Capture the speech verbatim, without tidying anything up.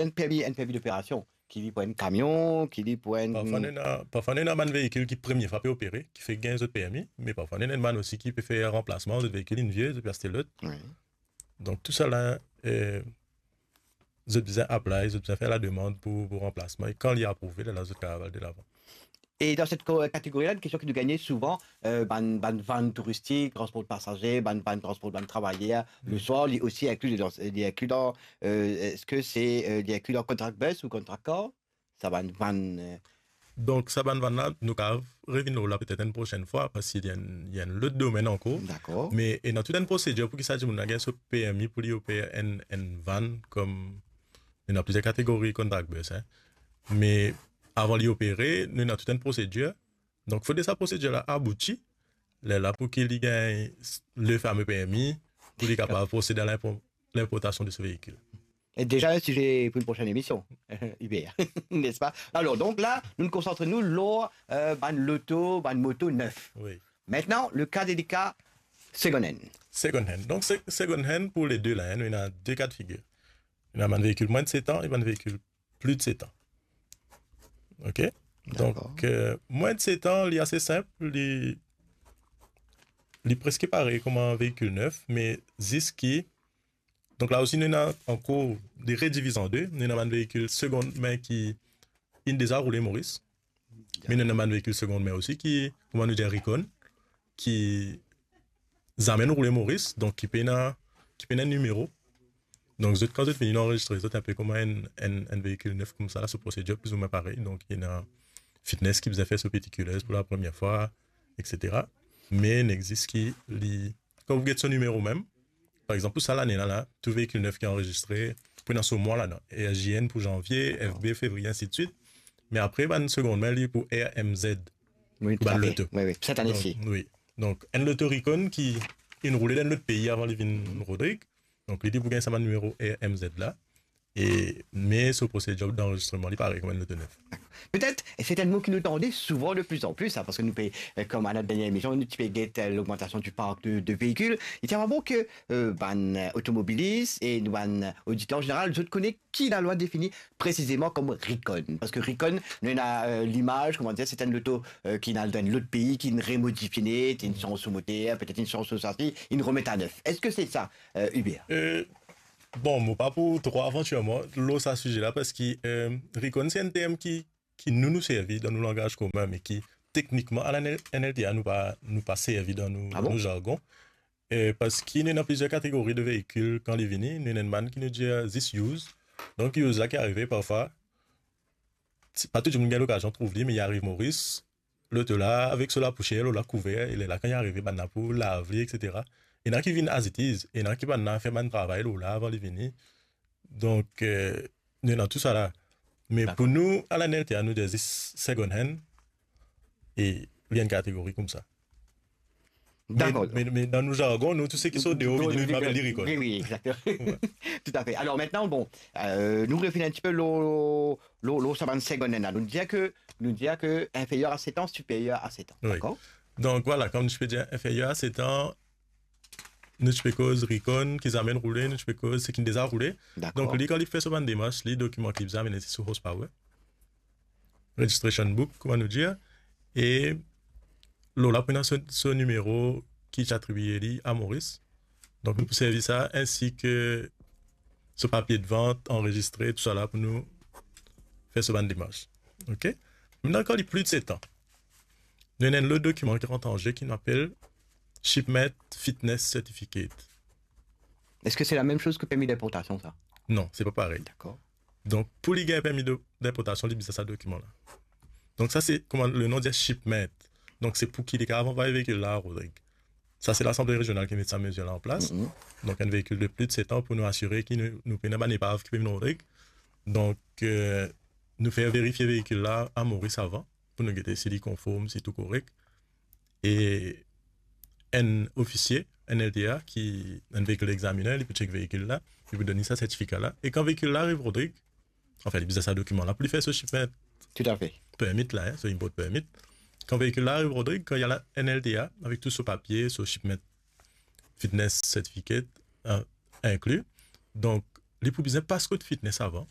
enn permi, enn permi d'opération, ki li pou enn kamion, ki li pou enn Parfwa nou ena, parfwa nou ena bann veikil ki premie fwa pe opere, ki fek gagn zot permi, me parfwa nou ena bann osi ki pe fer ranplasman, zot veikil inn vie, zot pe aste lot. Wi. Donk tou sa la, eh, zot bizin apply, zot bizin fer lademann pou, pou ranplasman, e kan li aprouve, lerla zot kapav al delavan. E dan set ko-, kategori la, enn kestion ki nou gagne souvan, eh, bann, bann van touristik, transport pasaze, bann van transport bann travayer, le swar, li osi inkli dan, li inkli dan, eh, eski se, eh, li inkli dan contract bus ou contract car? Sa bann van, eh, Donk sa bann van la, nou kapav revinn lor la petet enn prosenn fwa, parski li enn, li enn lot domenn ankor. Dakor. Me ena tou enn prosedir pou ki sa dimoun la gagn so permi pou li oper enn, enn van, kom ena plizier kategori contract bus, hein. Me avan li opere, nou ena tou enn prosedir. Donk fode sa prosedir la abouti, lerla pou ki li gagn s-, le fame permi, pou li kapav prosed a linpo-, linportasion de so veikil. E deza enn size pou enn prosenn emision, Hubert, nespa? Alor, donk la, nou konsant nou lor, eh, bann loto, bann moto nef. Wi. Aster, le ka delika, second hand. Second hand. Donk se-, second hand pou le de la, hein, nou ena de ka de figir. Nou ena bann veikil mwin de set an e bann veikil plis de set an. Ok? Dakor. Donk, eh, mwin de set an, li ase sinp, li, li preske parey kouma veikil nef, me zis ki, donk la osi nou ena ankor de rediviz an de, nou ena bann veikil segond min ki inn deza roule Moris, me nou ena bann veikil segond min osi ki, kouma nou dir, recon, ki zame inn roule Moris, donk ki pena, ki pena nimero. Donk zot, kan zot vini, nou anrezistre zot inpe kouma enn, enn, enn veikil nef koumsa, so prosedir plizoumwin parey. Donk ena fitness ki bizin fer so particulars pou la premie fwa, et cetera. Me ena zis ki li, kan ou get so nimero mem, par exanp, pou sa lane la, la, tou veikil nef ki anrezistre, pou ena so mwa ladan, R J N pou zanvie, F B fevriye, ainsi de suite. Me apre, bann segond min, li pou R M Z, wi, pou bann loto. Wi, wi, set ane si. Donk, wi. Donk, enn loto recon ki inn roule dan enn lot pei avan li vinn Rodrig. Donk, li, li pou gagn sa bann nimero R M Z la. E, me so prosedir d'anrezistreman, li parey kouma enn loto nef. Petet, e se enn mo ki nou tande souvan de plus en plus, hein, parski nou pe, eh, kouma dan dernie emision, nou ti pe get, eh, l'augmentation du parc de, de véhicules. Li ti bon ke, eh, bann, eh, otomobilis e nou bann oditer an zeneral, zot kone ki lalwa defini presizeman kom recon. Parski recon, nou ena, eh, limaz, kouma dir, se enn loto, eh, ki inn al dan enn lot pei, ki inn remodifie net, inn sanz so moter, petet inn sanz so sasi, inn remet a nef. Eski se sa, eh, Hubert? Eh, bon, mo pa pou tro avantir mwa lor sa size la, parski, eh, recon se enn term ki, ki nou, nou servi dan nou langaz komin, me ki teknikman, a la N L T A, nou pa, nou pa servi dan nou, dan nou zargon. Ah bon? Eh, parski nou ena plizier kategori de veikil kan li vini, nou ena enn bann ki nou dir zis used. Donk, used la ki arive parfwa, ti, pa tou dimoun gagn lokazion trouv li, me li ariv Moris, loto la, avek so lapousier, lor lakouver, e lerla kan li arive, bann la pou lav li, et cetera. Ena ki vinn as it is, ena ki bann la fer bann travay lor la avan li vini. Donk, eh, nou ena tou sa la. Me pou nou, a la N L T A, nou dir zis second hand, e li enn kategori koumsa. Dakor. Me, me, me dan nou zargon, nou, tou seki sort deor, nou, nou apel li recon. Wi, wi, exactement. Wi. Toutafe. Alor, aster, bon, eh, nou revinn enn tipe lor, lor, lor sa bann second hand la. Nou dir ke, nou dir ke inferieur à sept ans, supérieur à sept ans. Wi. Dakor? Donk, vwala, kom nou ti pe dir inferieur à sept ans, nou ti pe koz recon ki zame inn roule, nou ti pe koz seki inn deza roule. Dakor. Donk, li, kan li fer so bann demars, li, dokiman ki li bizin amenn, se so horsepower, registration book, kouma nou dir, e lor la pou ena so, so nimero ki ti atribie li a Moris. Donk, nou pou servi sa, ainsi que so papie de vant, anrezistre, tou sa la pou nou fer so bann demars. Ok? Aster, kan li plis de set an, nou ena enn lot dokiman ki rant an ze ki nou apel Shipment Fitness Certificate. Eski se la mem soz ki permi d'inportasion, sa? Non, se pa parey. Dakor. Donk, pou li gagn permi de, d'inportasion, li bizin sa dokiman la. Donk, sa se, kouma le nom dir, shipment. Donk, se pou ki li kapav anvway veikil la a Rodrig. Sa, se Lasanble Rezional ki met sa mezir la an plas. Mhm. Donk, enn veikil de plis de set an pou nou asire ki nou, nou pena bann epav ki pe vinn Rodrig. Donk, eh, nou fer verifie veikil la a Moris avan, pou nou gete si li konform, si tou korek. E enn ofisie, enn L T A, ki, enn vehicle examiner, li pou check veikil la, li pou donn li sa sertifika la. E kan veikil la ariv Rodrig, anfin, li bizin sa dokiman la pou li fer so shipment. Toutafe. Permit la, hein, so import permit. Kan veikil la ariv Rodrig, kan li al a enn L T A, avek tou so papie, so shipment fitness certificate, eh, inkli. Donk, li pou bizin pas kot fitness avan.